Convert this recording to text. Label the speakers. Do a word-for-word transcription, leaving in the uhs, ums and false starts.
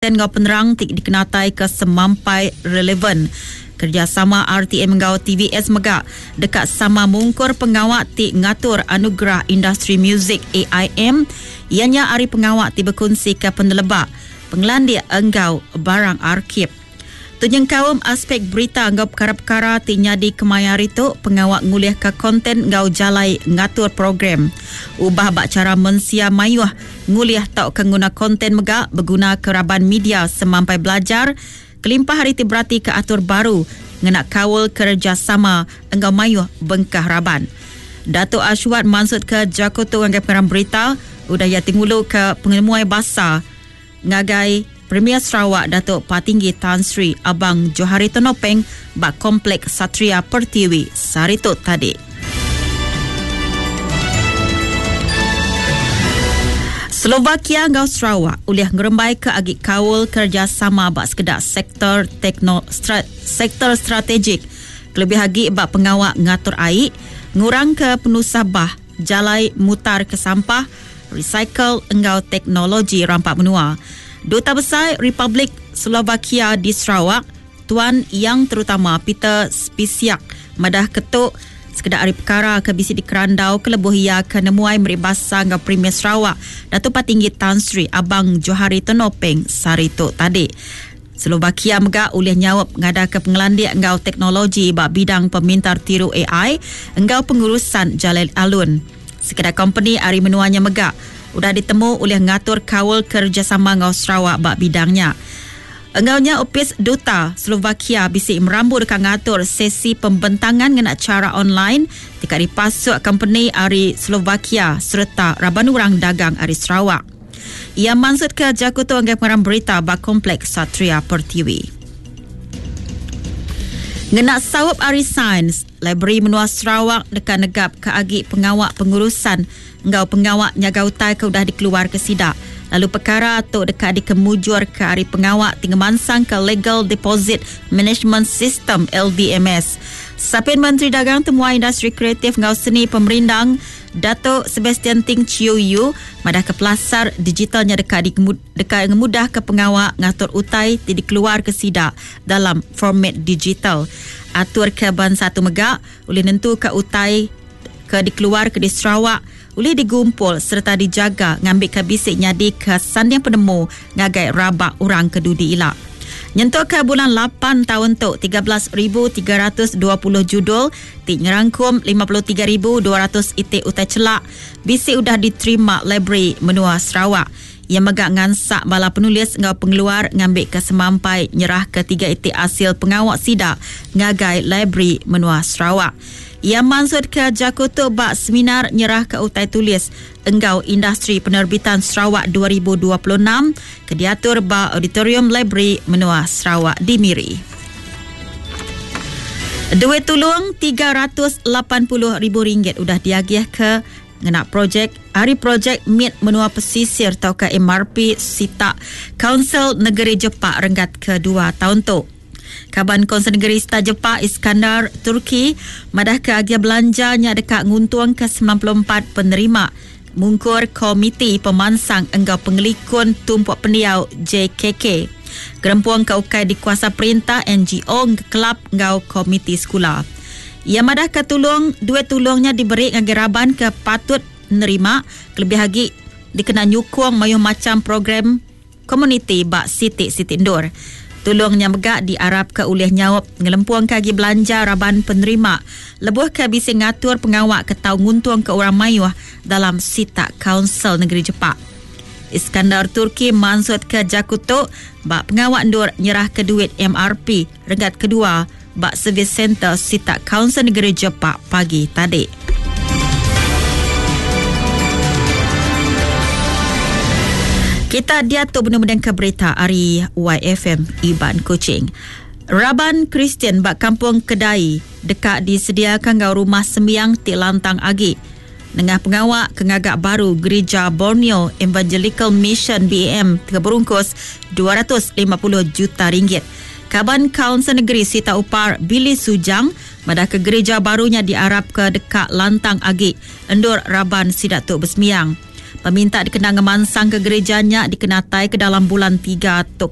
Speaker 1: Ngau penerang ti dikenatai ke semampai relevan. Kerjasama R T M ngau T V S mega dekat sama mungkur pengawak ti ngatur anugerah industri muzik A I M ianya ari pengawak ti berkongsi ke penelebak pengelandik enggau barang arkib. Tunyeng kaum aspek berita enggau perkara-perkara ti nyadi kemaya hari tu pengawak ngulih ke konten enggau jalai ngatur program. Ubah bak cara mensia mayuh ngulih tau ke nguna konten mega berguna ke raban media semampai belajar kelimpah hari ti berarti ke atur baru ngena kaul kerjasama enggau mayuh bengkah raban. Datuk Ashwad maksud ke Jakoto ngagai pengarang berita udah ia tingulu ke pengemuai basa ngagai Premier Sarawak Datuk Patinggi Tan Sri Abang Johari Tun Openg bak Kompleks Satria Pertiwi Saritu tadi. Slovakia ngau Sarawak ulih ngerembai ke agi kaul kerjasama bak sekedak sektor tekno, strat, sektor strategik kelebih agi bak pengawak ngatur air, ngurang ke penusah bah, jalai mutar ke sampah, recycle enggau teknologi rampak menua. Duta Besar Republik Slovakia di Sarawak, Tuan Yang Terutama Peter Spisiak madah ketuk sekedak hari perkara ke bisi di Kerandau ke lebuh ia ke nemuai meri basa ngau Premier Sarawak Datuk Patinggi Tan Sri Abang Johari Tun Openg saritu tadi. Slovakia mega ulih nyawab ngada ke pengelandik enggau teknologi bak bidang pemintar tiru A I enggau pengurusan jalai alun. Sekedak company ari menuanya mega udah ditemu oleh ngatur kaul kerjasama ngau Sarawak bak bidangnya. Engaunya Opis Duta Slovakia bisi merambu dekat ngatur sesi pembentangan ngena cara online dekat dipasuk company ari Slovakia serta raban orang dagang ari Sarawak. Ia maksud ke Jakoto anggai pengarang berita bak Kompleks Satria Pertiwi. Ngena sawap ari sains, Library Menua Sarawak dekat negap ke agi pengawak pengurusan enggau pengawak nyaga utai ke udah dikeluar ke sidak. Lalu perkara tu dekat dikemujur ke ari pengawak tingemansang ke Legal Deposit Management System L D M S. Sapin Menteri Dagang Temuai Industri Kreatif enggau Seni Pemerindang Datuk Sebastian Ting Chiu Yu madah ke pelasar digitalnya dekat dikemud-, dekat ngemudah ke pengawak ngatur utai ti dikeluar ke sidak dalam format digital. Atur ke ban satu megak boleh nentu ke utai ke dikeluar ke di Sarawak boleh digumpul serta dijaga ngambil ke bisik nyadi ke sanding penemu ngagai rabak orang ke dudi ilak. Nyentuk ke bulan lapan tahun tu tiga belas ribu tiga ratus dua puluh judul ti nyerangkum lima puluh tiga ribu dua ratus itik utai celak bisik udah diterima Library Menua Sarawak. Yang megak ngansak bala penulis ngau pengeluar ngambil ke semampai nyerah ke tiga itik hasil pengawak sidak ngagai Library Menua Sarawak. Ia maksud ke Jakoto bak seminar nyerah ke utai tulis enggau industri penerbitan Sarawak dua ribu dua puluh enam ke diatur ba Auditorium Library Menua Sarawak di Miri. Duit tulung tiga ratus lapan puluh ribu ringgit udah diagih ke ngena projek hari projek M I T Menua Pesisir atau ke M R P Sitak Kaunsil Negeri Jepak renggat kedua tahun tu. Kaban Konsel Negeri Star Jepak Iskandar Turki madah ke agia belanjanya dekat nguntung ke sembilan puluh empat penerima mungkur Komiti Pemansang Enggau Pengelikun Tumpuk Pendiau J K K. Gerempuang ke ukai dikuasa perintah N G O kelab enggau komiti sekolah. Ia madah ke tulung duit tulungnya diberi ngagai raban ke patut nerima kelebih lagi dikena nyukung mayuh macam program komuniti bak sitik-sitik ndur. Tulungnya megak diarap ke ulih nyawab ngelempuang kagi belanja raban penerima lebuh ke bisa ngatur pengawak ke tau nguntung ke orang mayuh dalam sitak Kaunsil Negeri Jepak. Iskandar Turki mansut ke Jakuto bak pengawak ndur nyerah ke duit M R P renggat kedua bak Service Center Sitak Kaunsil Negeri Jepak pagi tadi. Kita dia tu benar-benar ke berita ari Y F M Iban Kuching. Raban Kristian bak Kampung Kedai dekat disediakan ngau rumah sembiang ti lantang agi. Nengah pengawak kengagak baru Gereja Borneo Evangelical Mission B A M terberungkus dua ratus lima puluh juta ringgit. Kaban Kaunsil Negeri Sita Upar Billy Sujang madah ke gereja barunya diarap ke dekat lantang agi endur raban sidak tu bersemiang. Peminta dikena ngemansang ke gereja nya dikenatai ke dalam bulan tiga tu